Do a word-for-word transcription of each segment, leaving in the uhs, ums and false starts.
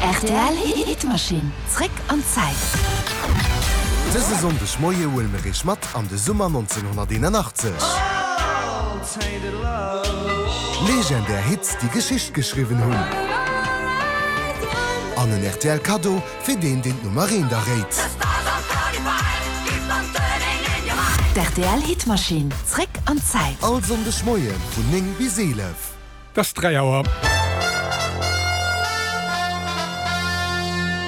Rtl Hitmaschinn, zréck an d'Zäit. Dëse Sonndeg Moie huele mir iech mat an de Summer nonzénhonnerteenanachtzeg. Legendär Hits, déi Geschicht geschriwwen hunn. An en rtl Kaddo fir deen, deen d'Nummer eent erréit. D'rtl Hitmaschinn, zréck an d'Zäit. All Sonndeg Moie vun néng bis eelef. Et ass dräi Auer.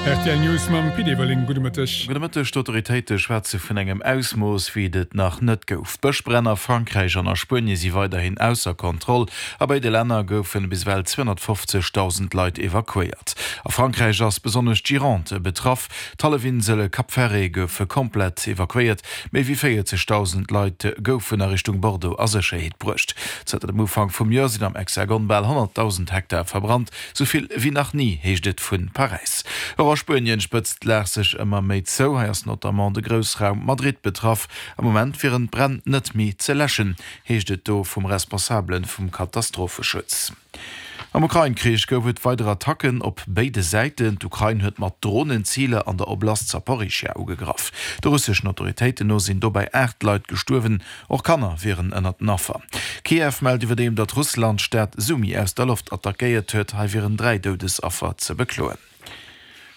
Rtl News mam Pit Everling. Gudde Mëtteg. Gudde Mëtteg. D'Autoritéite schwätze vun engem Ausmooss, wéi et et nach net gouf. D'Bëschbränn a Frankräich an a Spuenie si weiderhin ausser Kontroll. A béide Länner goufe bis ewell zweehonnertfofzegdausend Leit evakuéiert. A Frankräich ass besonnesch d'Gironde betraff. D'Hallefinsel Cap Ferret gouf komplett evakuéiert. Méi wéi véierzegdausend Leit goufen a Richtung Bordeaux a Sécherheet bruecht. Zënter dem Ufank vum Joer sinn am Hexagon bal honnertdausend Hektar verbrannt, sou vill wéi nach ni, heescht et vu Paräis. Och a Spuenien spëtzt d'Lag sech ëmmer méi zou. Hei ass notamment de Groussraum Madrid betraff. Am Moment wieren d'Bränn net méi ze läschen, heescht et do vum Responsabele vum Katastropheschutz. Am Ukrain-Krich gouf et weider Attacken op béide Säiten. D'Ukrain huet mat Dronen Ziler an der Oblast Saporischschja ugegraff. De russeschen Autoritéiten no sinn dobäi aacht Leit gestuerwen, och Kanner wieren ënnert den Affer. Kiew mellt iwwerdeem, datt Russland d'Stad Sumy aus der Loft attackéiert huet. Hei wieren dräi Doudesaffer ze bekloen.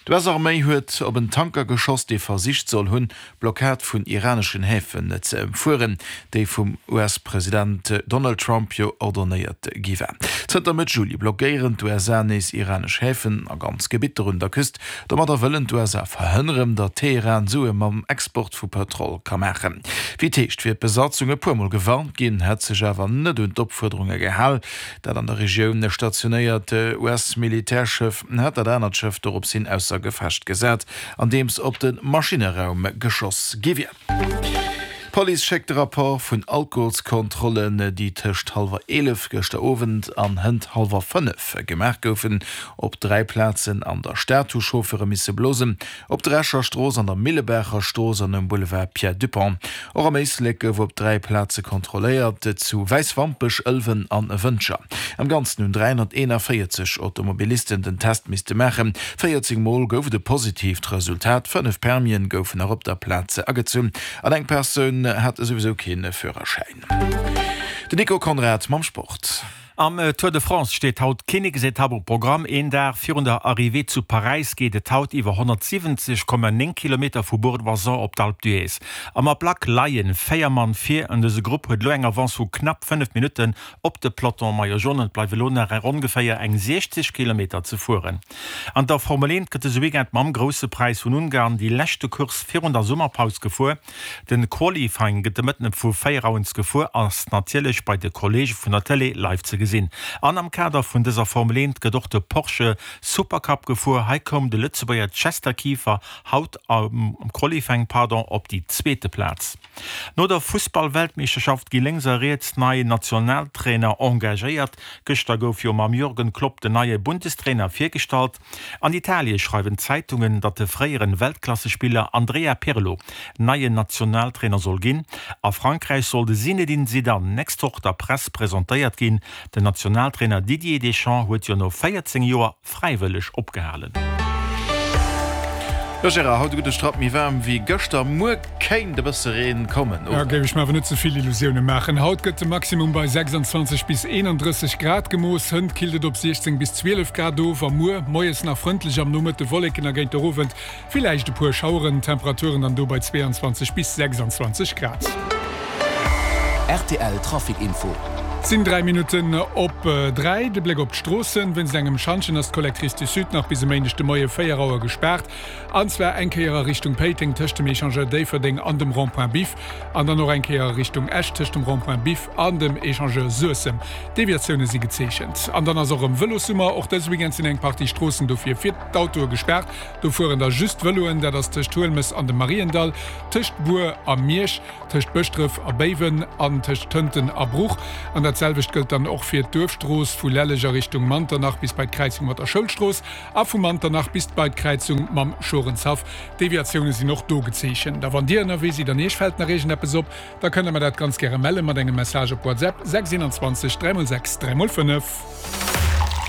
D'U S-Arméi huet op en Tanker geschoss, dee versicht soll hunn, d'Blockad vun iraneschen Häfen ze ëmfueren, déi vum U S-President Donald Trump jo ordonnéiert gi war. Zënter Mëtt Juli blockéieren d'U S A nees iranesch Häfen a ganz Gebitter un der Küst. Domadder wëllen d'U S A verhënneren, datt Teheran Sue mam Export vu Pëtrol ka maachen. Wéi et heescht, wier d'Besatzung e puer Mol gewarnt ginn, hätt sech awer net un d'Opfuerderunge gehal. Dat an der Regioun stationéiert U S-Militärschëff hat dat anert Schëff dorops hin ausser Gefecht gesat, andeems op de Maschinneraum geschoss gi wier. D'Police schéckt de Rapport vun Alkoholskontrollen, déi tëscht hallwer eelef gëschter Owend an hënt hallwer fënnef gemaach goufen. Op dräi Plazen an der Stad hu Chauffeure misse blosen, op der Escher Strooss, an der Millebaacher Strooss an um Boulevard Pierre Dupong. Och am Éislek gouf op dräi Plaze kontrolléiert, zu Wäiswampech, Ëlwen an Wëntger. Am Ganzen hunn dräihonnerteenavéierzeg Automobilisten den Test misste maachen. véierzéng Mol gouf et e positiivt Resultat, fënnef Permien goufen nach op der Plaz agezunn an eng Persoun hat esouwisou kee Führerschäin. Den Nico Conrad mam Sport. Am Tour de France steet haut d'Kinneksetapp um Programm. Een Dag virun der Arrivée zu Paräis geet et haut iwwer honnertsiwwenzeg Komma néng Kilometer vu Bourg-d'Oisans op d'Alpe d'Huez. Am Ablack leie véier Mann vir an dëse Grupp huet elo eng Avance vu knapp fënnef Minutten op de Peloton Maillot Jaune. Et bleiwe elo nach ongeféier eng siechzeg Kilometer ze fueren. An der Formel eent gëtt dëse Weekend mam Grousse Präis vun Ungarn déi leschte Course virun der Summerpaus gefuer. Den Qualifying gëtt de Mëtten vu véier Auer gefuer, ass natierlech bei de Kolleege vun der Tëlee live ze gesinn. An am Kader vun dëser Formel eent gëtt och de Porsche Supercup gefuer. Hei koum de Lëtzebuerger Chester Kieffer haut am Qualifying pardon op déi zweete Plaz. No der Fussball-Weltmeeschterschaft gi lénks a riets nei Nationaltrainer engagéiert. Gëschter gouf jo mam Jürgen Klopp den neie Bundestrainer virgestallt. An Italie schreiwen d'Zeitungen, datt de fréieren Weltklassespiller Andrea Pirlo neien Nationaltrainer soll ginn. A Frankräich soll de Zinedine Zidane nächst Woch der Press presentéiert ginn. Den Nationaltrainer Didier Deschamps huet jo no véierzéng Joer fräiwëlleg opgehalen. Jo Gérard, haut e gudde Strapp méi waarm wéi gëschter, muer kéint e bësse Reen kommen, oder? Da géif ech mer awer net ze vill Illusioune maachen. Haut gëtt de Maximum bei sechsandzwanzeg bis eenandrësseg Grad gemooss, hënt killt et op siechzéng bis zwielef Grad of a muer moies nach frëndlech, am Nomëtte Wolleken a géint der Owend villäicht e puer Schaueren, Temperaturen dann do bei zweeanzwanzeg bis sechsandzwanzeg Grad. Rtl Trafic Info. Et sinn dräi Minutten op dräi. De Bléck op d'Stroossen, Wéinst engem Schantjen ass d'Collectrice du Sud nach bis e Méindeg de Moie véier Auer gespaart. An zwar eng Kéier a Richtung Péiteng tëscht dem Echangeur Déifferdeng an dem Rond-point Biff an dann och eng Kéier a Richtung Esch tëscht dem Rond-point Biff an dem Echangeur Suessem. Deviatioune si gezeechent. An dann ass och erëm Vëlossummer. Och dëse Weekend sinn eng Partie Stroossen dofir fir d'Autoe gespaart. Do fueren da just Vëloen. Dat ass tëscht Huelmes an dem Mariendall, tëscht Bur a Miersch, tëscht Bëschdref a Béiwen an tëscht Tënten a Bruch. An dat selwecht gëllt dann och fir d'Duerfstrooss vu Lelleg a Richtung Manternach bis bei d'Kräizung mat der Schoulstrooss a vu Manternach bis bei d'Kräizung mam Schorenshaff. Deviatioune sinn och do gezeechent. A wann Dir ënnerwee sidd an Iech fält nach iergendeppes op, da kënnt Der mer dat ganz gäre melle mat engem Message op WhatsApp, sechs eenanzwanzeg dräi mol sechs dräi mol fënnef.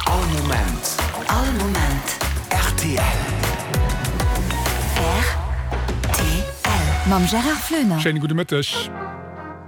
All Moment. All Moment. Rtl. Mam Gérard Floener. Schéine gudde Mëtteg.